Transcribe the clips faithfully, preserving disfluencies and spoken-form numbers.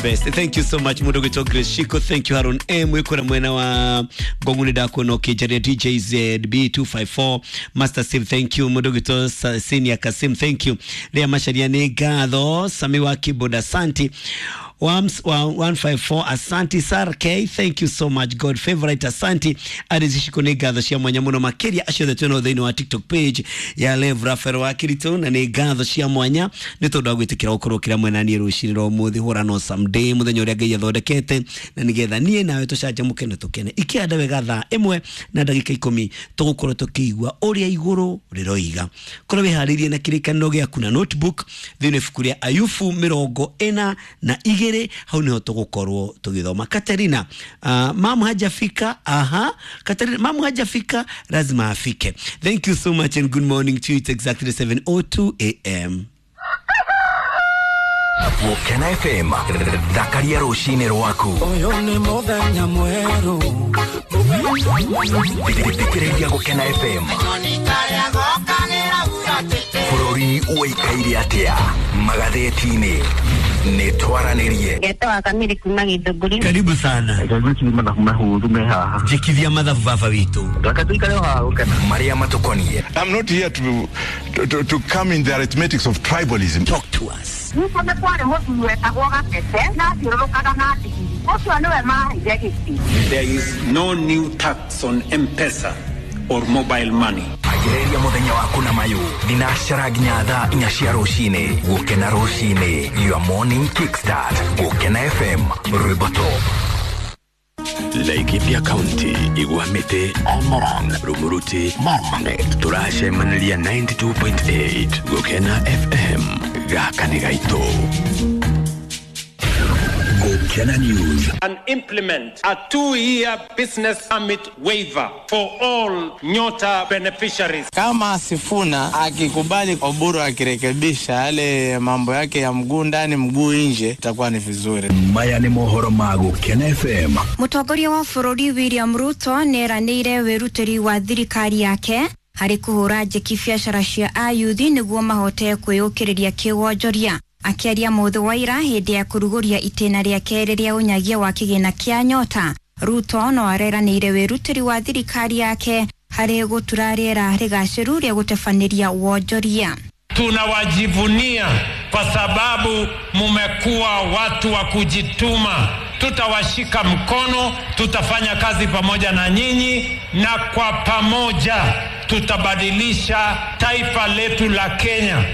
Best. Thank you so much mundu gwitwo Grace Shiko. Thank you Haron M wikora mwena wa Ngong'u ndakuona ukinjaria D J Z B two five four Master Steve, thank you mundu gwitwo Senior Kasim, thank you Lea Macharia ni ngatho Sami wa keyboard, asanti Wams one five four, asanti Sar K, thank you so much God favorite, asanti Arizishiko ni ngatho cia mwanya muno makiria acio othe twina thiini wa TikTok page ya Lev Rafael wa Kirito na ni ngatho cia mwanya ni tondu wa gwitikira gukorwo kira mwena nie rucini rwa umuthi hura no someday muthenya uria Ngai athondekete na nigetha nie nawe tucanjamuke na tukene ikianda wega thaa imwe na ndagika ikumi tugukorwo tukiigua uria iguru riroiga. Korwo wiharirie na kirikaniro giaku na notebook thiini ibuku ria Ayubu mirongo ina na igiri hau niho tugukorwo tugithoma. Katerina, uh, mamu hajafika. Aha, Katerina mamu hajafika, lazima afike. Thank you so much and good morning to you. It's exactly seven oh two A M. Gukena F M thakaria rucini rwaku. Uyu ni muthenya mweru. Thikiriria Gukena F M. Bururi uikaire atia magatheti-ini ni twaranirie. Ngetwa Kamiri kuma Githunguri. Karibu sana. Jikithia mathabu baba witu. Maria matukonie. I'm not here to, to, to come in the arithmetics of tribalism. Talk to us. There is no new tax on M-Pesa or mobile money. Agereria muthenya waku na mayu thinacara nginya thaa inya cia rucini. Gukena rucini, your morning kickstart. Gukena F M, rwimbo top. Laikipia County, Igwamite, Olmoran, Rumuruti, Marmanet, turacemaniria ninety-two point eight Gukena F M, gaka nĩ gaitũ. Gukena News. And implement a two-year business permit waiver for all Nyota beneficiaries. Kama Sifuna akikubali Oburu akirekebisha yale mambo yake ya mguu ndani mguu nje, itakuwa ni vizuri. Maya ni mohoro ma Gukena F M. Mutongoria wa bururi William Ruto nĩeranĩire wĩrutĩri wa thirikari yake harĩ kũhũra njeki biacara cia ayuthi nĩguo mahote kwĩyũkĩrĩria kĩwonjoria. Akiaria mũthĩ wa ira hĩndĩ ya kũrugũria itĩna rĩa kerĩ rĩa ũnyagia wa kĩgĩna kĩa Nyota, Ruto no areranĩire wĩrutĩri wa thirikari yake harĩ gũtura rĩera rĩgacĩru rĩa gũtebanĩria wonjoria. Tunawajivunia kwa sababu mumekuwa watu wa kujituma. Tutawashika mkono, tutafanya kazi pamoja na nyinyi, na kwa pamoja tutabadilisha taifa letu la Kenya.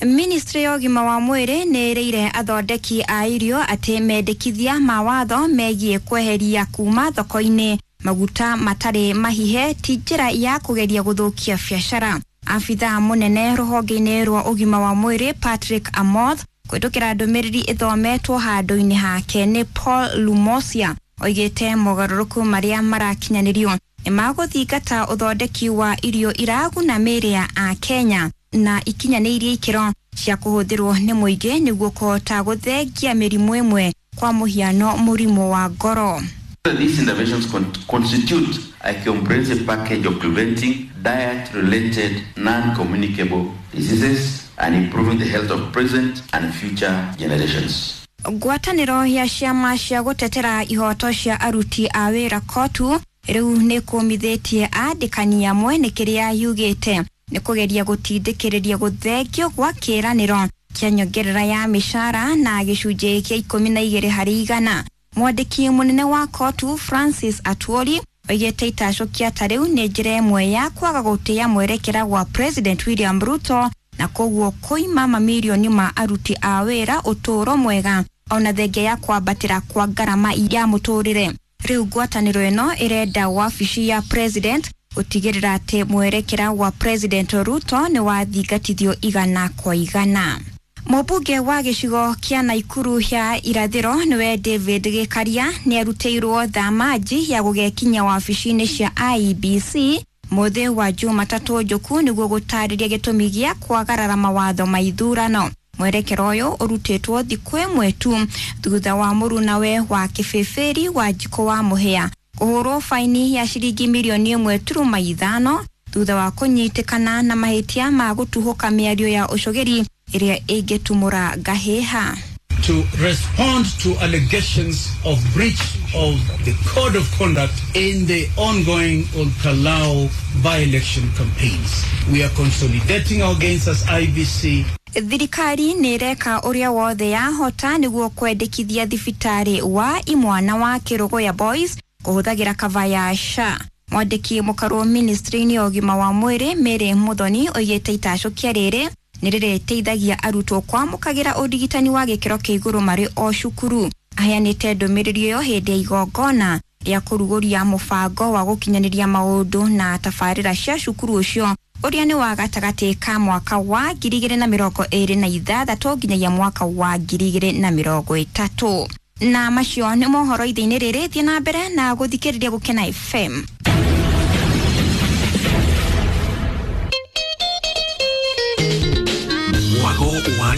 Ministry ya ũgima wa mwĩrĩ nĩ ĩrĩire athondeki a irio atĩ mendekithia ma watho megiĩ kweheria kuma thoko-inĩ maguta matarĩ mahihe ti njĩra ya kũgeria gũthũkia biacara. Abithaa mũnene rũhonge-inĩ rwa ũgima wa mwĩrĩ Patrick Amoth kũhĩtũkĩra ndũmĩrĩri ĩthometwo handũ-inĩ hake nĩ Paul Lumosia oigĩte mogarũrũku marĩa marakinyanĩrio nĩ magũthingata ũthondeki wa irio iraguna mĩĩrĩ ya Akenya na ikinyanĩirie ikĩro cia kũhũthĩrwo nĩ mũingĩ nĩguo kũhota gũthengia mĩrimũ ĩmwe kwa mũhiano mũrimũ wa ngoro. These interventions con- constitute a comprehensive package of preventing diet-related non-communicable diseases and improving the health of present and future generations. Ngwatanĩro ya ciama cia gũtetera ihoto cia aruti a wĩra kotu rĩu nĩ kũmithĩtie andĩkani amwe nĩ kĩrĩa yugĩte nĩ kũgeria gũtindĩkĩrĩria gũthengio gwa kĩĩranĩro kĩa nyongerera ya mĩcara na gĩcunjĩ kĩa ikũmi na igĩrĩ harĩ igana. Mwandĩki mũnene wa kotu Francis Atwoli oigĩte itacũkia ta rĩu nĩ njĩra ĩmwe ya kwaga gũtĩĩa mwerekera wa President William Ruto na koguo kũima mamirioni ma aruti a wĩra ũtũũro mwega ona thengia ya kwambatĩra kwa ngarama ya mũtũrĩre. Rĩu ngwatanĩro ĩno ĩrenda wabici ya President gũtigĩrĩra atĩ mwerekera wa President Ruto nĩ wathingatithio igana kwa igana. Mũmbunge wa gĩcigo kĩa Naikuru ya irathĩro nĩwe David Gĩkaria nĩarutĩirwo thamaji ya gũgekinya wabici-inĩ cia I E B C mũthĩ wa Jumatatũ njũku nĩguo gũtarĩria gĩtũmi gĩa kwagarara mawatho ma ithurano. Mwerekero ũyũ ũrutĩtwo thikũ ĩmwe tu thutha wa mũrunawe wa kĩbĩbĩri wa Njikũ wa Mũhĩa kũhũrwo faini ya ciringi mirioni ĩmwe turuma ithano thutha wa kũnyitĩkana na mahĩtia ma gũtuhũka mĩario ya ũcogeri ĩrĩa ĩngĩtumũra ngahĩha. to respond to allegations of breach of the code of conduct in the ongoing Olkalau by-election campaigns. We are consolidating our gains as I B C. Thirikari nĩ ĩreka ũrĩa wothe yahota nĩguo kwendekithia thibitarĩ wa imwana wa Kĩrũgũya Boys kũhũthagĩra kava ya S H A. Mwandĩki mũkarwo ministry-inĩ ya ũgima wa mwĩrĩ Mary Muthoni oigĩte itacũkia rĩrĩ nĩ rĩrĩteithagia arutwo kwamũkagĩra ũrigitani wa gĩkĩro kĩa igũrũ marĩ o cukuru. Aheanĩte ndũmĩrĩri ĩyo hĩndĩ ya igongona rĩa kũrugũria mũbango wa gũkinyanĩria maũndũ na tabarĩra cia cukuru ũcio ũrĩa nĩ wa gatagatĩ ka mwaka wa ngiri igĩrĩ na mĩrongo ĩrĩ na ithathatũ nginyagia mwaka wa ngiri igĩrĩ na mĩrongo ĩtatũ. Na macio nĩ mohoro ithe-inĩ rĩrĩ, thiĩ na mbere na gũthikĩrĩria Gũkena F M. Mwago wa